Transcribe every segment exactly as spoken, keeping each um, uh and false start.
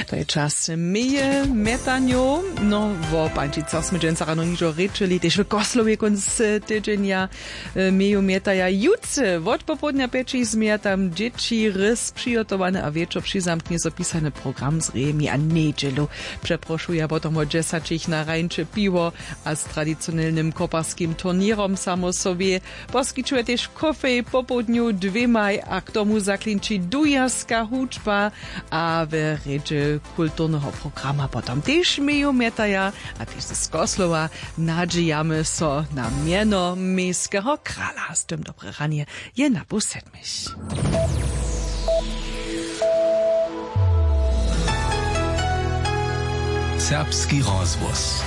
To je čas meje mjetanjow. No, wo pańčicach smy dźensa rano nižo rěčeli, tež w Koslowje kónc tydźenja. Meju mjetaja jutře wotpopołdnja pjećich změja tam dźěći rys přihotowane a wječor přizamknje so pisany program z rejemi a njedźelu. Přeprošuja potom wot dźesaćich na rańče piwo a z tradicionelnym koparskim turněrom. Samo so wě, poskićuje tež kofej popołdnju dwěmaj a k tomu zaklinči dujerska hudźba a we rědźe kulturneho programa potom tež meju mjetaja a tež z Koslowa. Nadźijamy so na mjeno měskeho krala. Z tym dobre ranje je na pół sedmich. Serbski rozhłos.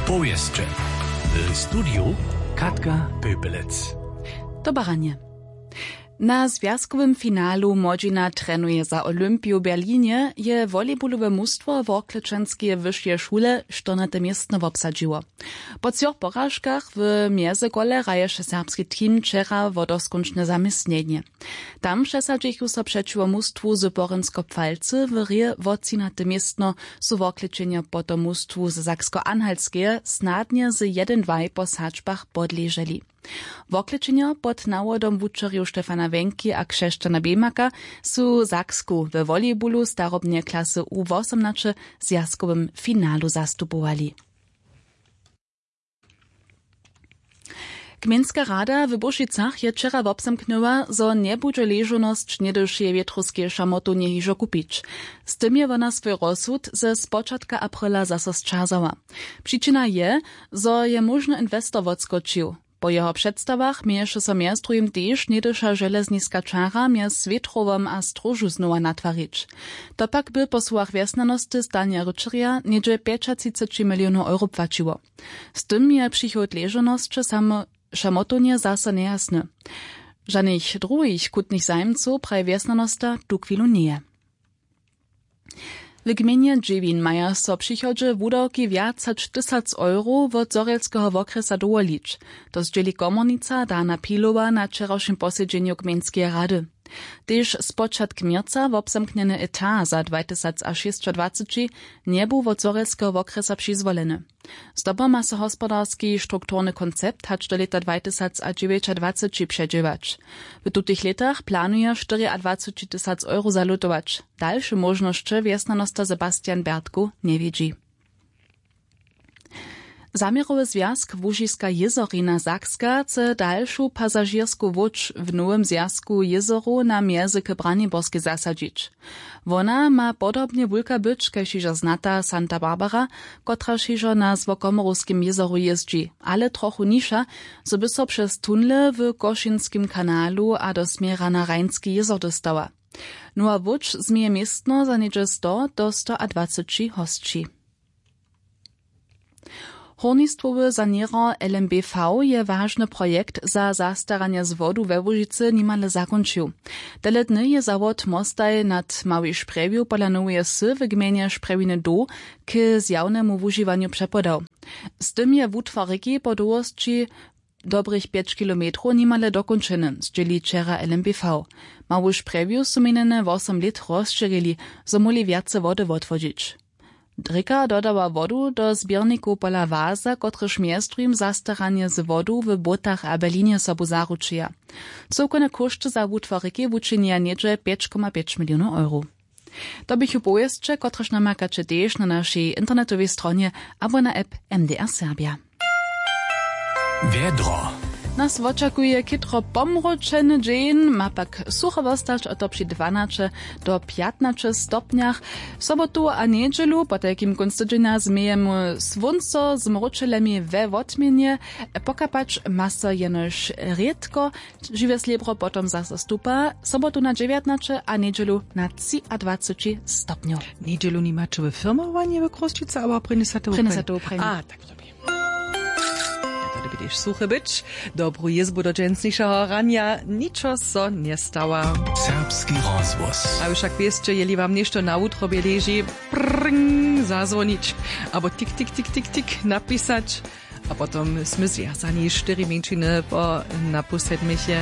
Powěsće. W studiju Katka Pöpelec. Dobre ranje. Na zwjazkowym finalu młodźina trenuje za Olympiju w Berlinje, je volejbolowe mustwo Worklećanskeje wyšeje šule štyrnate městno wobsadźiło. Po třoch poražkach w mjezykole hraješe serbski team wčera wodoskónčne zaměstnjenje. Tam přesadźichu so přećiwo mustwu z Porynsko-Pfalcy w hry wo třinate městno. Su Worklećenjo potom mustwu ze Saksko-Anhaltskeje snadnje z jedyn dwaj po sadźbach podleželi. Worklećenjo pod nawodom wučerjow Stefana Wenki a Křešćana Bemaka su Saksku we volejbolu starobneje klasy U wosomnaće w zwjazkowym finalu zastupowali. Gmejnska rada w Bušicach je wčera wobzamknyła, zo njebudźe ležownosć něhdyšeje wětrowskeje šamotownje hižo kupić. Z tym je wona swój rozsud ze spočatka aprila zaso sćazała. Přičina je, zo je móžny inwestor wotskočił. Po jeho předstawach měješe so mjez druhim tež něhdyša železniska čara mjez Wětrowom a Stróžu znowa natwarić. To pak by po słowach wjesnjanosty Stanja Ryčerja něhdźe pjećatřiceći milionow euro płaćiło. Z tym je přichod ležownosće samo šamotownje zaso njejasny. Žanych druhich chutnych zajimcow, praji wjesnjanosta, tuchwilu njeje. W gmejnje Dźěwin maja so w přichodźe wudawki wjac hač tysac euro wot Zhorjelskeho wokrjesa dowolić. To zdźěli komornica Dana Pilowa na wčerawšim posedźenju gmejnskeje rady. Tež spočatk měrca wobzamknjeny etat za dwajtysacašěsćadwaceći njebu wot Zhorjelskeho wokrjesa přizwoleny. Zdobom ma so hospodarski strukturny koncept hač do lěta dwajtysacadźewjećadwaceći předźěłać. W tutych lětach planuje štyriadwaceći tysac euro zalutować. Dalše móžnosće wjesnjanosta Sebastian Bertku njewidźi. Zaměrowy zwjazk Łužiska jězorina Sakska chce dalšu pasažěrsku łódź w nowym zwjazku jězorow na mjezy k Braniborskej zasadźić. Wona ma podobnje wulka być kaž hižo znata Santa Barbara, kotraž hižo na złokomorowskim jězoru jězdźi, ale trochu nižša, zo by so přez tunle w Košinskim kanalu a do směra na Rajnski jězor dóstała. Nowa łódź změje městno za něhdźe sto do stoadwaceći hosći. Hórnistwowy saněrer L M B V je wažny projekt za zastaranje z wodu we Łužicy nimale zakónčił. Tele dny je zawod mostaj nad Małej Sprjewju pola Noweje Wsy w gmejnje Sprjewiny Doł k zjawnemu wužiwanju přepodał. Z tym je wutwar rěki po dołhosći dobrych pjeć kilometrow nimale dokónčeny, zdźěli wčera L M B V. Mału Sprjewju su minjene wosom lět rozšěrili, zo móhli wjace wody wotwodźić. Rěka dodała wodu do zběrnikow pola Waza, kotryž mjez druhim zastaranje z wodu w Błótach a Berlinje sobu zaručuja. Cyłkowne kóšty za wutwar rěki wučinja něhdźe pjeć koma pjeć milionow euro. To běchu powěsće, kotrež namakaće tež na našej internetowej stronje abo na app M D R Serbia. Wjedro. Nas wočakuje chětro pomróčeny dźeń, ma pak sucho wostać, a to při dwanaće do pjatnaće stopnjach. Sobotu a njedźelu, potajkim kónc tydźenja, změjemy słónco z mróčelemi we wotměnje. Pokapać ma so jenož rědko. Žiwe slěbro potom zaso stupa, sobotu na dźewjatnaće a njedźelu na třiadwaceći stopnjow. Njedźelu nimaće wy firmowanje w Chrósćicy abo prěnjesaty? Prěnjesaty. A tak, to bě, to bě tež suche być. Dobru jězbu do dźensnišeho ranja, ničo so njestała. Serbski rozhłos. A wšak wěsće, jeli wam něšto na wutrobje leži, prring zazwonić abo tik tik tik tik tik napisać. A potom smy zwjazani štyri mjeńšiny po napusedmich je.